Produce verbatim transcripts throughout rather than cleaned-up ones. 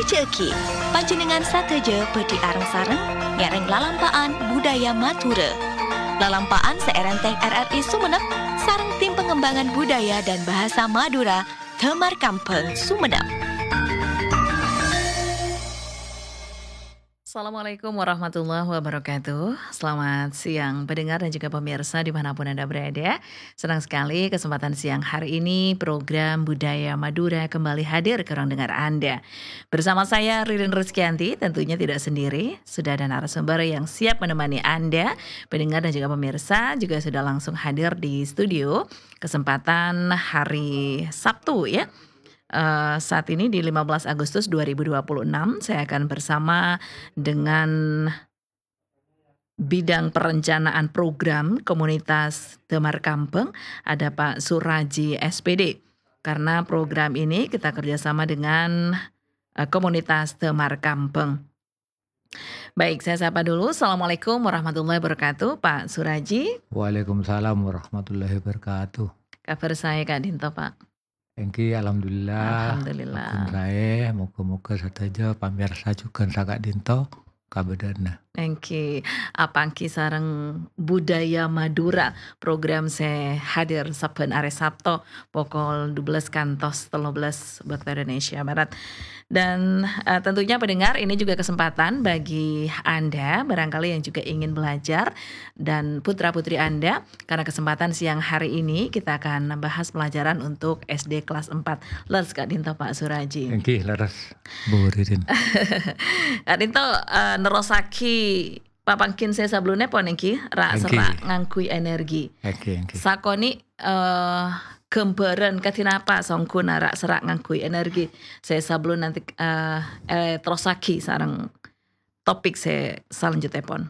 Jhâghi, panjhennengngan sadhâjâ bhâdhi areng-sareng ngèrèng lalampa'an budaya Madhurâ. Lalampa'an sè èrèntèng R R I Sumenep sareng Tim Pengembangan Budaya dan Bahasa Madura, Damar Kambhâng, Sumenep. Assalamualaikum warahmatullahi wabarakatuh. Selamat siang, pendengar dan juga pemirsa dimanapun Anda berada. Senang sekali kesempatan siang hari ini, program Budaya Madura kembali hadir ke ruang dengar Anda. Bersama saya, Ririn Rizkyanti, tentunya tidak sendiri. Sudah ada narasumber yang siap menemani Anda, pendengar dan juga pemirsa juga sudah langsung hadir di studio. Kesempatan hari Sabtu, ya. Eh, saat ini di lima belas Agustus dua ribu dua puluh enam, saya akan bersama dengan bidang perencanaan program komunitas Damar Kambhâng, ada Pak Suraji, S P D. Karena program ini kita kerjasama dengan, eh, komunitas Damar Kambhâng. Baik, saya sapa dulu. Assalamualaikum warahmatullahi wabarakatuh, Pak Suraji. Waalaikumsalam warahmatullahi wabarakatuh. Kabar saè ka'dinto, Pak? Èngghi, alhamdulillah. Alhamdulillah. Paggun saè, moga-moga sadhâjâ pamirsa jhughân saka'dinto kabâdâ'ânna. Èngghi, apangghi sareng Budaya Madura, program sè hadir sabbhân arè Sabto pokol dua belas kantos tello belas bâkto Indonesia Barat. Dan, eh, tentunya pendengar, ini juga kesempatan bagi Anda barangkali yang juga ingin belajar dan putra-putri Anda, karena kesempatan siang hari ini kita akan membahas pelajaran untuk S D kelas empat. Leres ka'dinto, Pak Suraji? Èngghi, leres, Bu Ririn. Ka'dinto, eh, nerrossaghi papangghin sè sabellunna pon èngghi, ra'-serra' Èngghi. ngangghuy energi. Èngghi, èngghi. Sakonè', eh, ghâmbhârân kadhi napa songghuna ra'-serra' ngangghuy energi sè sabellunna, eh, eh, terrossaghi sareng topik sè salanjhuttèpon.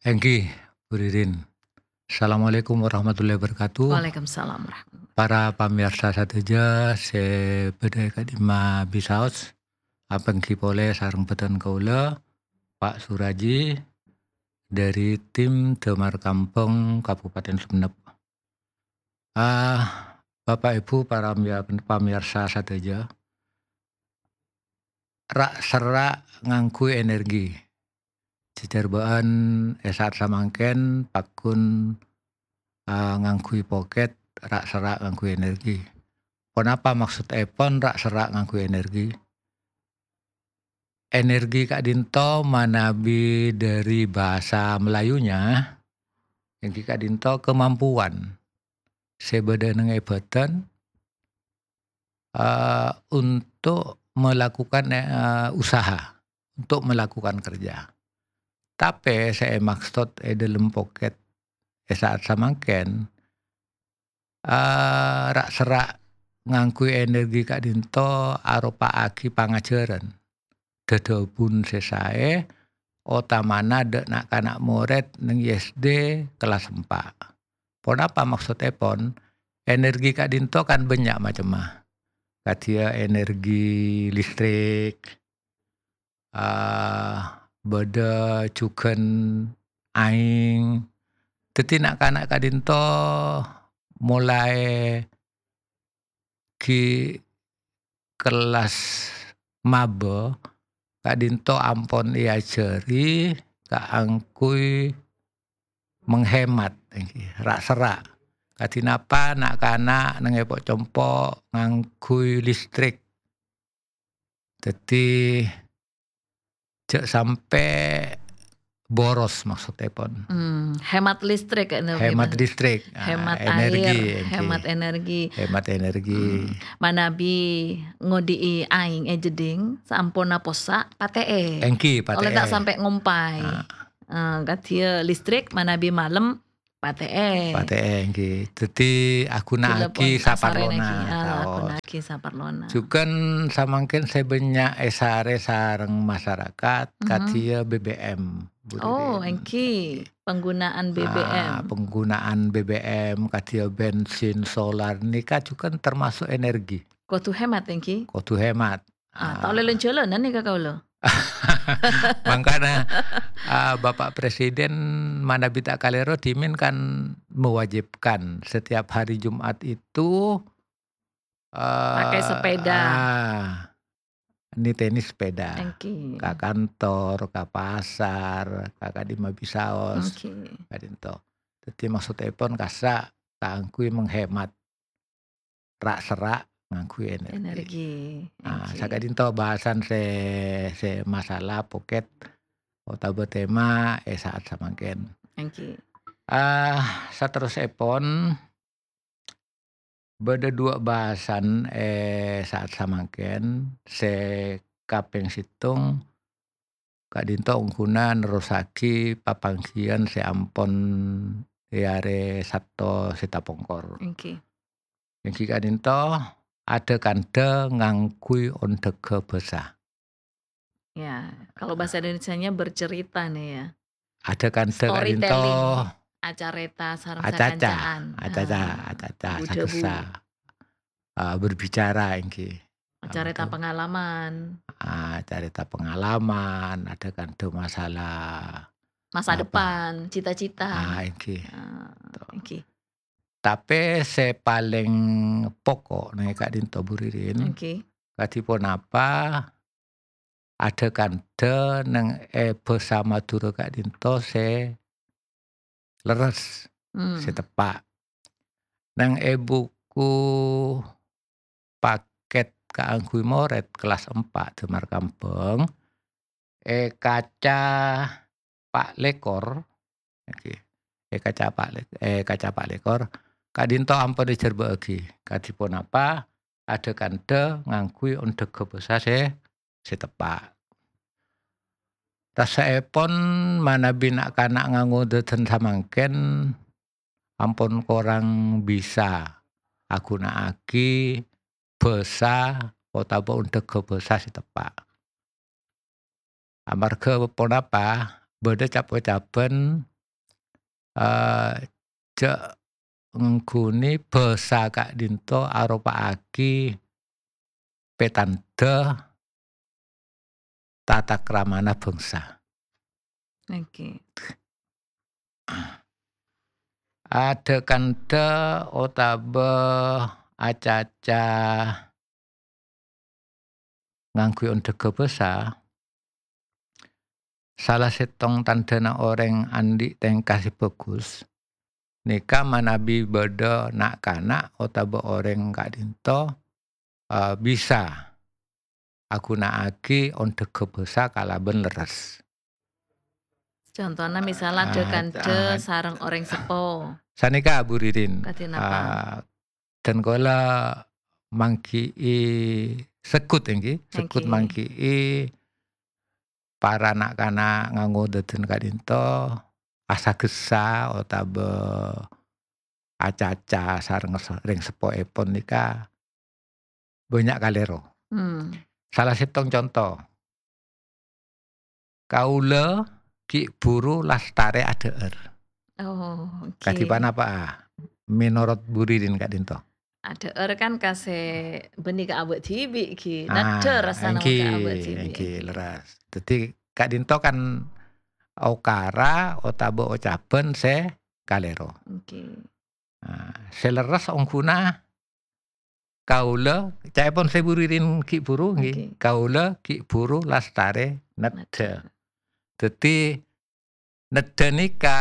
Èngghi, Bu Ririn. Assalamualaikum warahmatullahi wabarakatuh. Waalaikumsalam warahmatullahi. Para pamirsa sadhâjâ sè bâdâ è ka'dimma bisaos, apangghi polè sareng bhâdhân kaulâ, Pak Suraji, dari tim Damar Kambhâng Kabupaten Sumenep. Ah, Bapak Ibu, para pamia-, pamirsa sadhâjâ, ra'-serra' ngangghuy energi. Jhâjhârbâ'ân è sa'at samangkèn paggun, ah, ngangghuy pokèt, ra'-serra' ngangghuy energi. Ponapa maksoddhèpon ra'-serra' ngangghuy energi? Energi ka'dinto manabi dhâri bhâsa Melayunya, èngghi ka'dinto kemampuan sè bâdâ neng è bhâdhân, eh, untuk melakukan, eh, usaha, untuk melakukan kerja. Tapè sè èmaksod è dhâlem pokèt è sa'at samangkèn, eh, ra'-serra' ngangghuy energi ka'dinto aropa'aghi pangajhârân dhâdhâbun sè saè, otamana dhâ' na'-kana' morèd neng S D kellas empa'. Ponapa maksoddhèpon? Energi ka'dinto kan bânnya' macemma. Kadhiyâ energi listrik, ah, bâdâ jhughân aèng. Dhâddhi na'-kana' ka'dinto molaè ghi' kellas maba ka'dinto ampon èajhâri kaangghuy menghemat, ra'-serra'. Kadhi napa na'-kana' neng è po'-compo' ngangghuy listrik. Dhâddhi, jhâ' sampè' boros maksoddhèpon. Hmm, hemat listrik, ya, Hemat gitu. listrik, ah, Hemat energi, air, èngghi. hemat energi. Hemat energi. Hmm, manabi ngodi'i aèng è jeddhing, saamponna possa', patè'è. Èngghi, Oleh ta' patè'è. sampè' ngompay. Ah. Eh, kadhiyâ listrik manabi malem, patè'è. Patè'è, èngghi. Dhâddhi, aghuna'aghi Dilebon asarèna saparlona, ghi. Ah, saos. aghuna'aghi saparlona. Jhughân samangkèn sè bânnya' èsarè sareng masarakat, Mhm. kadhiyâ B B M, Bu Oh, Ririn. èngghi. Penggunaan Ah, B B M. penggunaan B B M, kadhiyâ bensin, solar, nèka jhughân termasuk energi. Kodhu hemat, èngghi. Kodhu hemat. Ah, ta' Ah. ollè lan-jhâlânan nèka kaulâ. Mangkana, ah, Bapak Presiden manabi ta' kalèro dhimèn kan mewajibkan setiap hari Jumat itu, Pakai eh, sepeda. ah, nitènè sepèda. Èngghi. Ka kantor, ka pasar, ka ka'dimma bisaos, Èngghi. ka'dinto. Dhâddhi maksodèpon kassa' kaangghuy menghemat ra'-serra' ngangghuy energi. Energi, Ah, èngghi. saka'dinto bahasan sè, sè masalah pocket otabâ tema è sa'at samangkèn. Èngghi. Ah, saterrossèpon, bâdâ duwâ' bahasan è sa'at samangkèn. Sè kapèng sèttong, ka'dinto ongghuna nerrossaghi papangghiyân sè ampon è arè Sabto sè tapongkor. Èngghi. Èngghi ka'dinto, adhâ-kandhâ ngangghuy ondhâghâ bhâsa. Ya, kalau bahasa Indonesianya bercerita nih ya. Adhâ-kandhâ ka'dinto Storytelling. Acarèta sareng Acaca, sakancaan. acaca, Ah, acaca, bu-dhâbu. sagessa. Ah, berbicara èngghi. Acarèta Ampon. pengalaman. Ah, carèta pengalaman, adhâ-kandhâ masalah Masa apa? depan, cita-cita. Ah, èngghi. Ah, To. èngghi. Tapè sè palèng poko' nèng ka'dinto, Bu Ririn, Èngghi. kadhi ponapa adhâ-kandhâ nèng è bhâsa Madhurâ ka'dinto sè lerres, Hmm. sè teppa'. Nèng è buku pakèt kaangghuy morèd kellas empa' Damar Kambang, è kaca pa' lèkor, èngghi, è kaca pa' lè-, è kaca pa' lèkor, ka'dinto ampon èjhârbâ'âghi, kadhi ponapa adhâ-kandhâ ngangghuy ondhâghâ bhâsa sè, sè teppa'. Rassa'èpon manabi na'-kana' ngangodâdân samangkèn ampon korang bisa aghuna'aghi bhâsa otabâ ondhâghâ bhâsa sè teppa'. Amarghâ ponapa? Bâdâ cap-ocabhân, eh, jhâ' ngangghuy bhâsa ka'dinto aropa'aghi pètandhâ tata kramana bhângsa. Èngghi. Adhâ-kandhâ otabâ acaca ngangghuy ondhâghâ bhâsa, sala sèttong tandhâna orèng andi' tèngka sè bhâghus, nèka manabi bâdâ na'-kana' otabâ orèng ka'dinto, eh, bisa aghuna'aghi ondhâghâ bhâsa kalabân lerres. Contona, misal, Ah, adhâ-kandhâ ah. sareng orèng seppo. Sanèka, Bu Ririn. Kadhi napa? Ah, dân kaulâ manggi'i seggut, èngghi. Seggut Èngghi. manggi'i para na'-kana' ngangodâdân ka'dinto, asagessa otabâ acaca sareng se-, rèng seppoèpon nèka bânnya' kalèro. Hmm. Sala sèttong conto. Kaulâ ghi' buru lastarè adhâ'âr. Oh, oke. Kadhi panapa'a menorot Bu Ririn ka'dinto? Adhâ'âr kan ka sè bânnè ka abâ' dhibi', ghi. Ah, Neddhâ rassana èngghi, ka abâ' dhibi', èngghi, èngghi. Lerres. Dhâddhi ka'dinto kan okara otabâ ocabhân sè kalèro. Oke. Ah, sè lerres ongghuna kaulâ, ca'èpon sè Bu Ririn ghi' buru, ngghi. Oke. Kaulâ ghi' buru lastarè neddhâ. Neddhâ. Dhâddhi, neddhâ nèka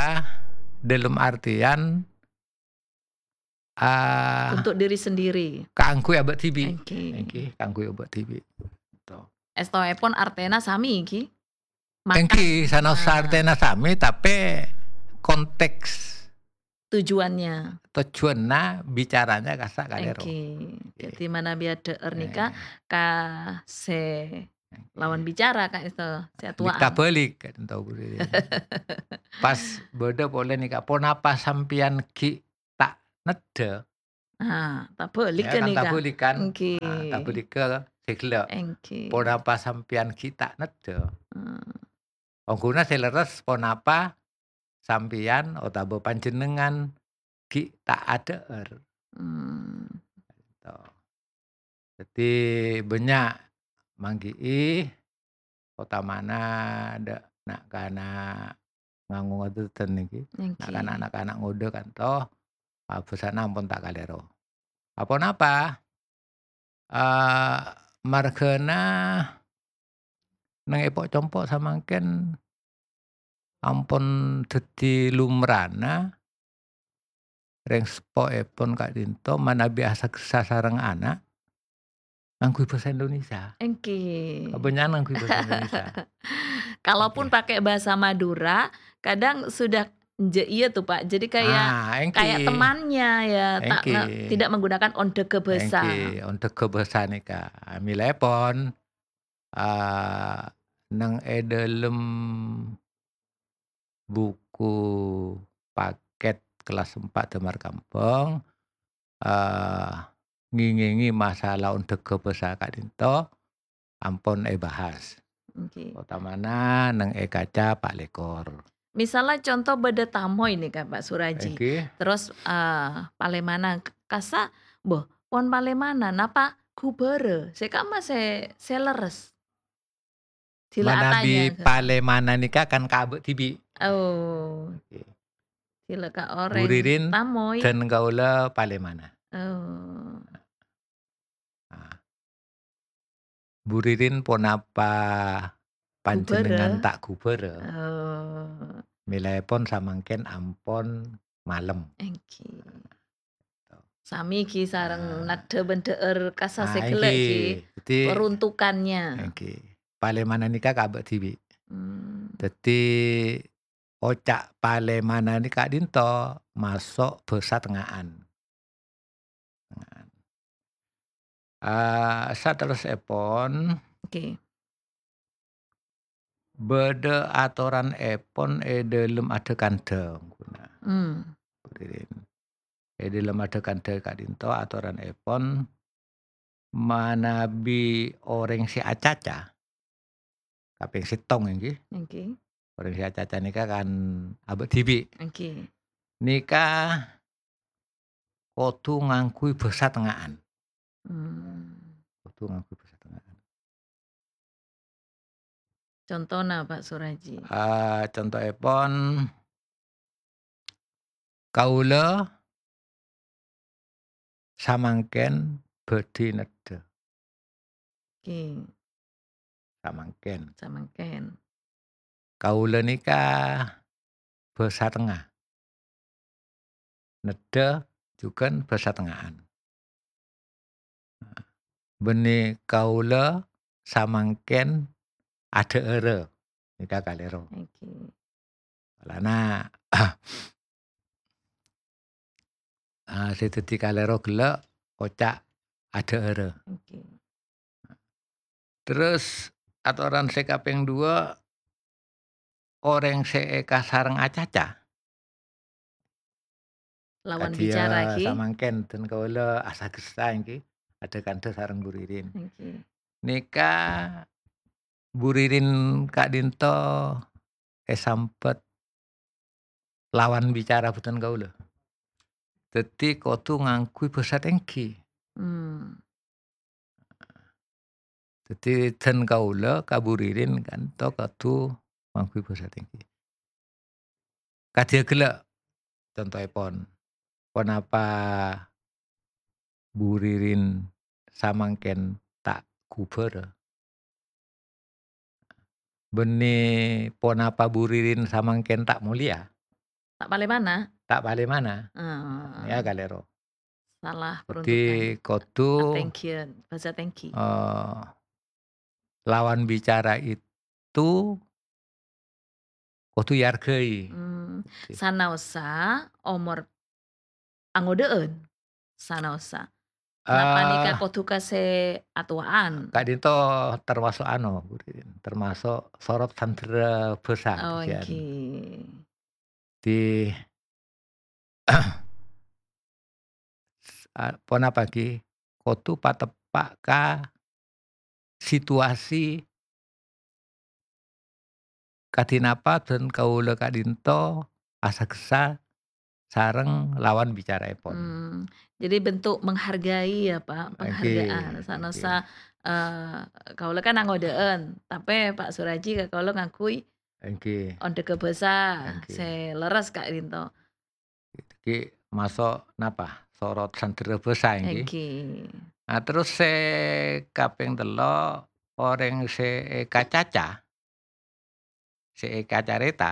dalam artian, ah, Untuk diri sendiri. kaangghuy abâ' dhibi'. Oke. Èngghi, kaangghuy abâ' dhibi'. To. Èstoèpon artèna sami, ghi? Maka, Èngghi, sanaossa ah. artèna sami, tapè konteks Tujuannya. tojjhuwânna bicaranya kassa' kalèro. Èngghi. Èngghi. Dhâddhi manabi adhâ'âr nèka Eh. ka sè lawan bicara, ka'dinto, sè Nèka atuwa'an. balik, ka'dinto Bu Ririn. Pas bâdâ polè nèka, "Ponapa sampèyan ghi' ta' neddhâ?" Ah, tabâlikka Ya, kan nèka. tabâlikkan. Èngghi. Ah, tabâlikka sè ghellâ'. Èngghi. "Ponapa sampèyan ghi' ta' neddhâ?" Hmm. Ongghuna sè lerres, ponapa sampèyan otabâ panjhennengngan ghi' ta' adhâ'âr? Hmm. To. Dhâddhi bânnya' manggi'i, otamana dâ' na'-kana' ngangodâdân nèkè. Èngghi. Na'-kana', na'-kana' ngodâ kanto, ah, bhâsana ampon ta' kalèro. Aponapa? Ah, marghâna neng èpo'-compo' samangkèn ampon dhâddhi lumrana rèng seppoèpon ka'dinto manabi asagessa sareng ana' ngangghuy bhâsa Indonesia. Èngghi. Kabânnya'an ngangghuy bhâsa Indonesia. Kalaupun Oke. pakai bahasa Madura, kadang sudah nje-, iya tuh, Pak. Jadi kayak, Ah, èngghi. kayak temannya ya, tak Èngghi. nge-, tidak menggunakan ondhâghâ bhâsa. Èngghi, ondhâghâ bhâsa nèka. Mèlaèpon, ah, neng è dâlem buku paket kelas empat Damar Kampong, eh, ngèngèngè masalah ondhâghâ bhâsa ka'dinto ampon èbahas. Oke. Otamana neng è kaca pa' lèkor. Misalnya contoh bâdâ tamoy nèka, Pak Suraji. Èngghi. Terus, eh, palèmana k-, kassa', "Boh, pon palèmana, napa ghubârâ?" Sè kamma sè, sè lerres. Sila Manabi atanya, Kak. palèmana nèka kan ka abâ' dhibi'. Oh. Oke. Sila ka Bu orèng Ririn tamoy. dan kaulâ palèmana. Oh. Ah. Bu Ririn ponapa panjhennengngan Ghubârâ. ta' ghubârâ? Oh. Mèlaèpon samangkèn ampon malem. Èngghi. Sami ghi sareng Ah. naddhâ bân dhâ'âr kassa' sè Ah, ghellâ' èngghi. ghi. Dhâddhi, Peruntukannya. èngghi. Palèmana nèka ka abâ' dhibi'. Hmm. Dhâddhi, oca' palèmana nèka ka'dinto maso' bhâsa tengnga'an. Tengnga'an. Ah, saterrossèpon, Oke. bâdâ atoranèpon è dâlem adhâ-kandhâng, ghuna. Hmm. È dâlem adhâ-kandhâng ka'dinto atoranèpon manabi orèng sè acaca, kapèng sèttong èngghi. Èngghi. Orèng sè acaca nèka kan abâ' dhibi'. Èngghi. Nèka kodhu ngangghuy bhâsa tengnga'an. Hmm. Kodhu ngangghuy bhâsa tengnga'an. Contona, Pak Suraji. Ah, contoèpon, kaulâ samangkèn bhâdhi neddhâ. Oke. Samangkèn. Samangkèn. Kaulâ nèka bhâsa tengnga. Neddhâ jhughân bhâsa tengnga'an. Bânnè kaulâ samangkèn adhâ'ârâ. Nèka kalèro. Oke. Polana, ah, sè dhâddhi kalèro ghellâ' oca' adhâ'ârâ. Oke. Terros atoran sè kapèng duwâ', orèng sè èkasareng acaca. Lawan Kadhi, bicara, eh, ghi. samangkèn dân kaulâ asagessa èngghi, adhâ-kandhâ sareng Bu Ririn. Èngghi. Nèka Bu Ririn ka'dinto èsambhât lawan bicara bhunten kaulâ. Dhâddhi kodhu ngangghuy bhâsa tèngghi. Hmm. Dhâddhi dân kaulâ ka Bu Ririn ka'dinto kodhu ngangghuy bhâsa tèngghi. Kadhiyâ ghellâ' contoèpon. Ponapa Bu Ririn samangkèn ta' ghubârâ? Bânnè ponapa Bu Ririn samangkèn ta' molèya? Ta' palèmana? Ta' palèmana. Heeh. Ya, kalèro. Salah Dhâddhi peruntukan. kodhu, Atèngghiyân, bhâsa tèngghi. eh, lawan bicara itu kodhu èarghâi. Hmm, Oke. sanaossa omor angodâ'ân, sanaossa. Napa nèka Eh, kodhu ka sè atowa'an? Ka'dinto termasuk anu, Bu Ririn, termasuk sorot sandhârâ bhâsa, Oh, bhâsiyan. èngghi. Di, a, ponapa ghi? Kodhu pateppa' ka situasi kadhi napa dân kaulâ ka'dinto asagessa sareng lawan bicaraèpon. Hmm, jadi bentuk menghargai ya, Pak, Èngghi, penghargaan. Sanaossa, èngghi. eh, kaulâ kan angodâ'ân, tapè Pak Suraji ka kaulâ ngangghuy Èngghi. ondhâghâ bhâsa Èngghi. sè lerres ka'dinto. Èngghi, maso' napa? Sorot sandhârâ bhâsa, èngghi. Èngghi. Nah, terros sè kapèng tello', orèng sè èkacaca, sè èkacarèta,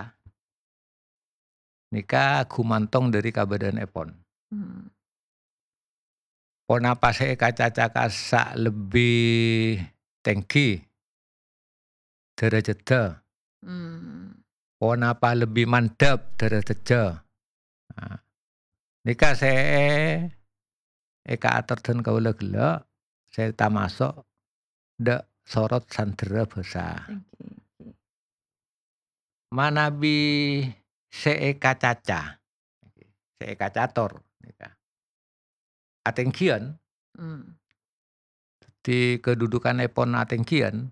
nèka ghumantong dhâri kabâdâ'ânnèpon. Hmm. Ponapa sè èkacaca kassa' lebbi tèngghi dârâjâddhâ? Hmm. Ponapa lebbi mandhâp dârâjâddhâ? Nah, nèka sè èkaator dân kaulâ ghellâ', sè tamaso' dâ' sorot sandhârâ bhâsa. Oke, oke. Manabi sè èkacaca, sè èkacator, nèka. Atènggiyân, Hmm. dhâddhi kadhudhukannèpon atènggiyân,